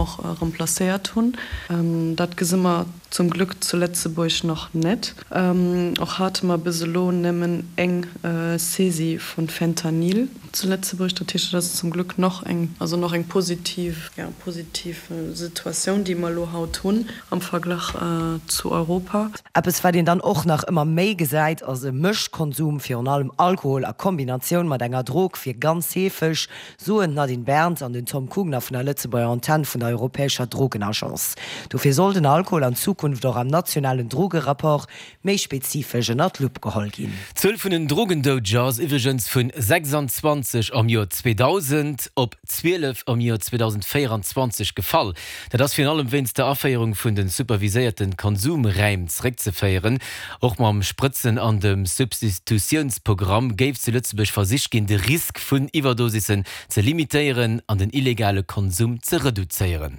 Och remplacéiert hunn. Dat gesi mer zum Glück zu Lëtzebuerg nach net. Och hate mer bis elo nëmmen eng Saisie vu Fentanyl zu Lëtzebuerg. Dat heescht, dat ass zum Glück nach eng, also nach eng positiv, ja, positiv Situatioun, déi mer elo haut hunn am Verglach zu Europa. Eppes wat een dann och nach ëmmer méi gesäit ass e Mëschkonsum, virun allem Alkohol a Kombinatioun mat enger Drog wier ganz heefeg, soen d'Nadine Berns an den Tom Kugner vun der Lëtzebuerger Antenn vun der europäescher Drogenagence. Dofir soll den Alkohol an Zukunft och am nationalen Drogerapport méi spezifesch ënner d'Lupp geholl ginn. D'Zuel vun den Drogendoudeger ass iwwregens vun 26 am Joer 2000 op 12 am Joer 2024 gefall. Dat ass virun allem wéinst der Aféierung vun de superviséierte Konsumräim zeréckzeféieren. Och mam Sprëtzen an dem Substitutiounspogramm géif zu Lëtzebuerg versicht ginn, de Risk vun Iwwerdosissen ze limitéieren an den illegale Konsum ze reduzéieren.